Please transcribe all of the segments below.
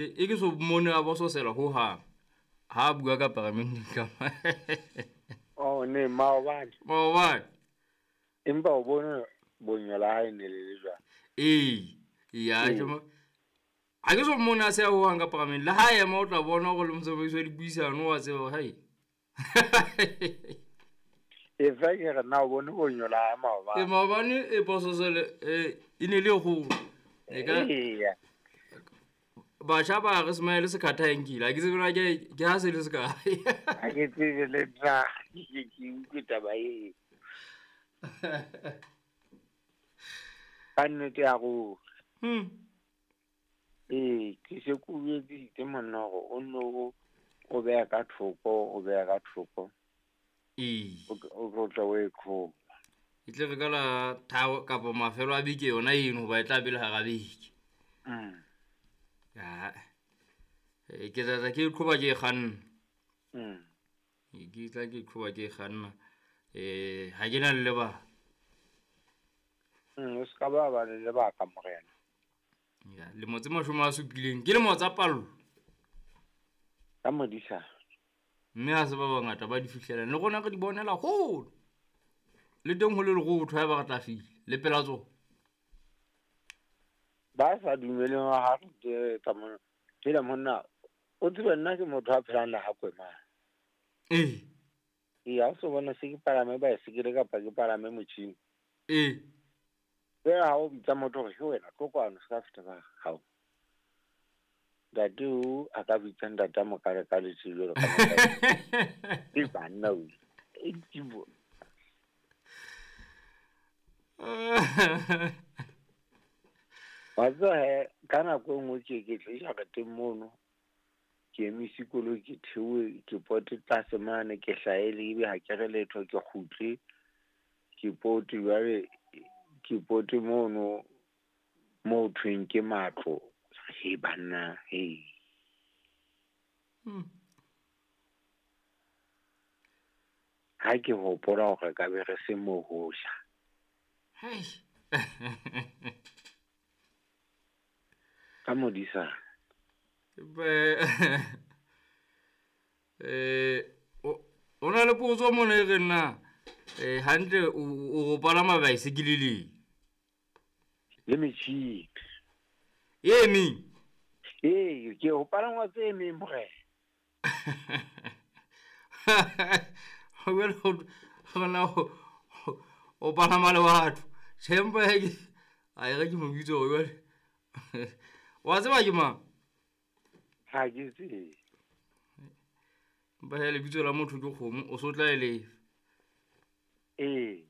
E ke so mmone a bososela ho hang ha a bua ka paramenteng ka Oh ne maobane. Maobane. Empa o bone bonyo la hae ne le le jwang? Ee. Ya ke mo ha ke so mmone a se a ho hang ka paramenteng. Le ha ema o tla bona hore le motsamaisi wa dipuisano wa tseba hore hai. E fa ke re na o bone bonyo la hae maobane. E maobane e bososele e ne le kgolo. E ka Eya. Batjha ba re smile se khatha e nkile. Ha ke tsebe na ke ha se le se kae. Ha ke tsebe le nna. Ke utlwe taba e. Ka nnete ya ruri. Ee, ke se ke o jwetsitse monna hore o nno o beha ka thoko, o beha ka thoko. Ee. O tlo tla o e qhoba. E tle re ka la thabo kapa mafelo a beke yona eno hoba e tla be le hara beke. Ya. Ke tla tla ke e qhoba ke e kganna. Ke tla ke qhoba ke e kganna. Ha ke na le lebaka. O se ka ba ba le lebaka, morena. Ya, lemo tse 70 ke lemo tsa pallo. Ka modisa. Mme ha se ba bangata ba di fihlelang. Le rona re di bonela hole. Le teng ho le lerotho ha eba re tla fihla, le pela tsona. Ba sa dumeleng ha re tse tsa mona. Phela monna, o tsebe nna ke motho a phelang le ha kwemana. Ee. Ee, ha o so bona se ke palame baesekele kapa ke palame motjhini. Ee. Feela ha o bitsa motho hore ke wena, tlo kwano, se ka feta ba hao. Ntate o a ka bitsa ntate a mokale ka letsholo jwalo ka motho. Ke banna o. E ke bo. Wa tseba he, ka nako e nngwe ke tle jareteng mono, ke emise koloi, ke theohe, ke pote tlase mane, ke hlaele, ebe ha ke re letho, ke kgutle, ke pote jwale, ke pote mono, moo thweng ke matlo. He banna, he. Ha ke hopola hore ka be re se mo ho ja. Hei. Ka modisa. Be, o na le potso mona e reng na, hantle o palama baesekele le? Le metjhini. E meng? Ee, ke ho palangwa tse meng, morena. Jwale ho na o palama le batho. Tjhe, empa he ke, a e re ke mo bitse hore jwale. Wa tseba ke mang? Ha ke tsebe. Empa he lebitso la motho ke kgomo, o so tla e lefa. Ee.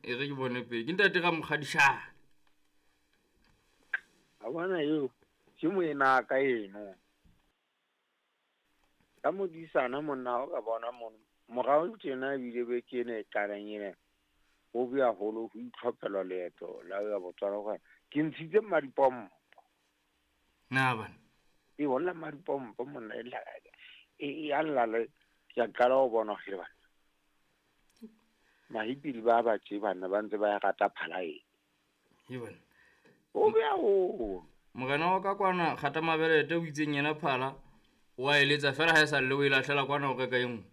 E re ke bone pele. Ke ntate Ramokgadishane. A bona eo, ke moena ka eno. Ka modisana monna o ka bona mono. Morao tjena ebile be ke ena e qalang ena. Ho be haholo ho itlhophela leeto la ho ya Botswana hore ke ntshitse mmadipompo. Na bana? E holla mmadipompo monna e la, e, e a lla le, ke a qala ho bona hore bana. Mahipili ba ba tje bana ba ntse ba e rata phala e. He bana. Ho be haholo. Morena wa ka kwana kgata mabelete o itseng yena phala o a eletsa fela ha e sa lle o e lahlela kwana o reka e nngwe.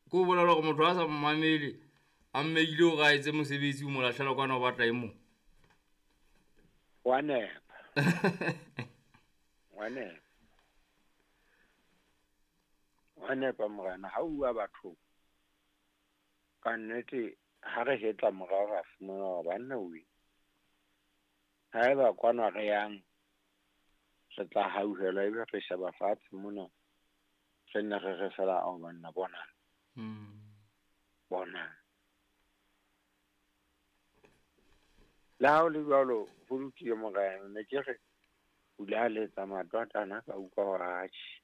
Ke o bolela hore motho a sa mmamele a mmeile hore a etse mosebetsi o mo lahlela kwana o batla e mong. Wa nepa. Wa nepa. Wa nepa morena, ha o bua batho ka nnete ha re hetla morao ra fumana hore banna we. Haeba kwana re yang re tla hauhelwa ebe re sheba fatshe mona, re nne re re fela ao banna bonang. Bonang. Le ha ho le jwalo, ho lokile morena, ne ke re o ile a letsa matwatana ka utlwa hore atjhe.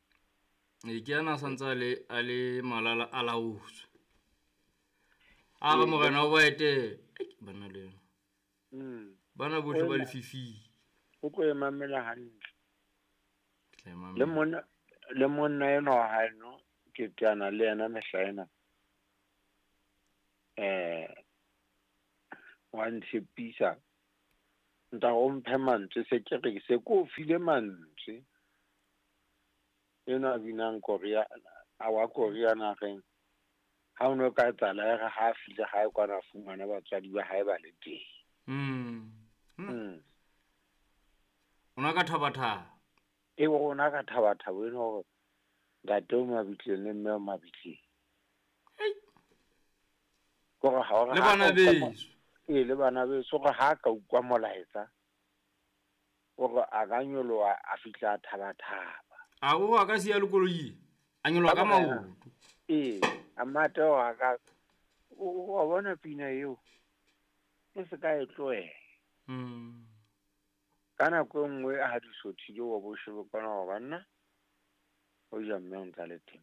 E ke ana a santse a le malala a laotswe. A re morena o ba etele. Ei, bana le yena. Bana bohle ba lefifing. O tlo e mamela hantle. Ke tla e mamela. Le monna enwa wa hae no, ke teana le yena mehla ena. Wa ntshepisa. Ntate o mphe mantswe, se ke re se ko file mantswe. Enwa a binang Korea, a wa Korea nageng. Ha o no ka etsahala e re ha a fihle hae kwana a fumana batswadi ba hae ba le teng. O na ka thaba-thaba. E rona ka thaba-thaba eno hore ntate o mabitleng le mme o mabitleng. Kore ha o re Le bana beso. Ee, le bana beso gore ha ka utlwa molaetsa gore a ka nyoloha a fihla a thaba-thaba. A o a ka siya le koloi a nyoloha ka maoto. Ee, a mate hore a ka wa bona pina eo e se ka e tlohela. Ka nako e nngwe ha di sothile wa bo shebe kwana hore banna o ja mme o ntsa le teng.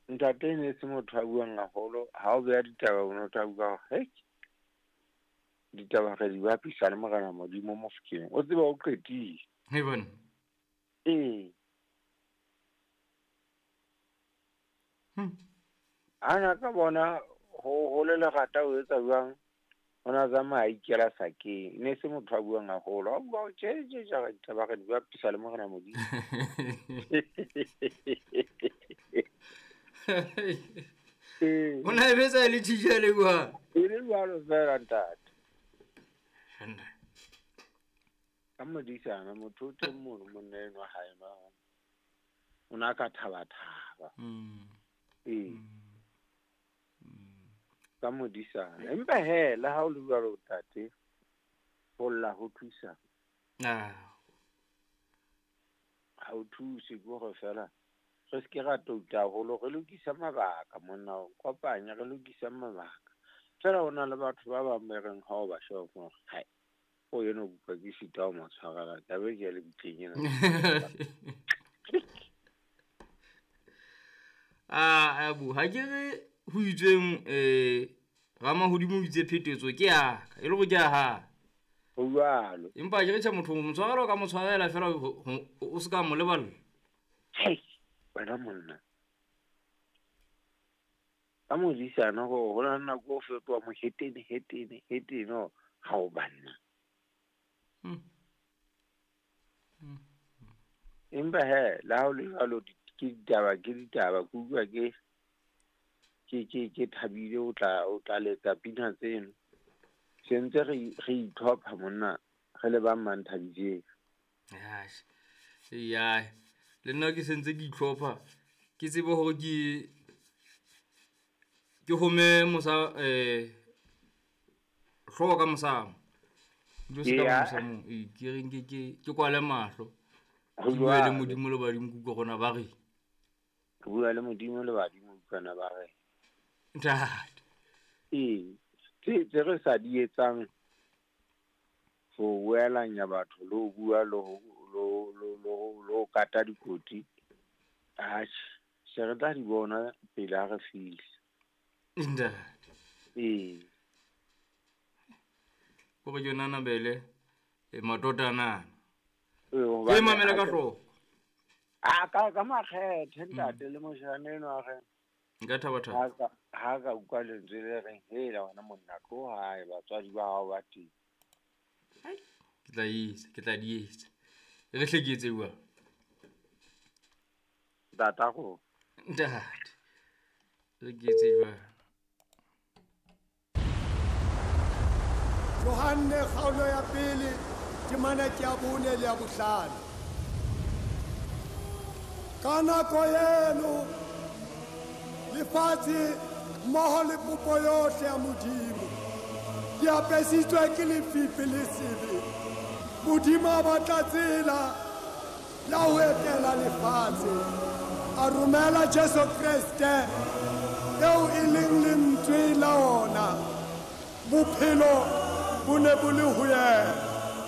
Ntate ne se motho a buang haholo, ha o beha ditaba o no tla bua hore hei ditaba re di bapisa le Morena Modimo Mofokeng. O tseba o qetile. Hei bona. Ee. Ana ka bona ho le lerata o etsa jwang? O na tsamaya a ikela sakeng. Ne se motho a buang haholo. A bua tje tje tje re ditaba re di bapisa le Morena Modimo. O na e betsa le tjhitjhe le bua. E le jwalo fela ntate. Ka modisana motho o teng mono monna enwa hae ba. O na ka thaba-thaba. Ee. Ka modisana. Empa he le ha o le jwalo ntate, ho lla ho thusa. Ha o thuse ke hore fela re se ke ra touta haholo, re lokise mabaka monna, o kopanya re lokise mabaka. Fela ho na le batho ba bang ba reng ha o ba sheba hore hai o eno kutlwa ke sita ho mo tshwarela taba e ke ya lebitleng ena. A bu ha ke re ho itsweng Ramahodimo o itse phetetso ke ya ka, e le hore ke ya hae. Ho jwalo. Empa ke re tjhe motho o mo tshwarela o ka mo tshwarela fela o se ka mo leballa. Hei, wena monna. Ka modisana hore ho na le nako o fetoha mohetene, hetene, hetene hore ha o banna. Empa he, le ha o le jwalo ke ditaba, ke ditaba, ke utlwa ke ke thabile o tla letsa pina tseno. Se ntse re itlhopha monna re le ba Mmanthabijeng. Ya, le nna ke sentse ke itlhopha ke tsebe hore ke home mosa hlooho ka mosamo. Ke se ka mosamo, ke reng ke kwale mahlo. Ke bua le Modimo le badimo ke utlwa rona ba re. Ke bua le Modimo le badimo utlwana ba re. Ntate. Ee, tse re sa di etsang ho boelanya batho le ho bua le ho kata dikoti, atjhe, se re tla di bona pele ha re fihla. Ntate. Ee. Kore ke nana bele matotana. Ke mamela ka hloko. A ka makgethe ntate le moshana enwa re. Nka thaba thaba. Ha ka utlwa lentswe le reng hela wena monna tlo hae batswadi ba hao ba teng. Ke tla etsa, ke tla di etsa. Re hle ke etse jwang? Ntata go. Ntate. Re ke etse jwang? Johanne kgaolo ya pele temana ke ya 4 le ya 5. Ka nako eno lefatshe mmoho le popo yohle ya Modimo di apesitswe ke lefifi le sebe. Modimo a batla tsela ya ho etela lefatshe, a romela Jesu Kreste eo e leng lentswe la ona. Bophelo bo ne bo le ho yena.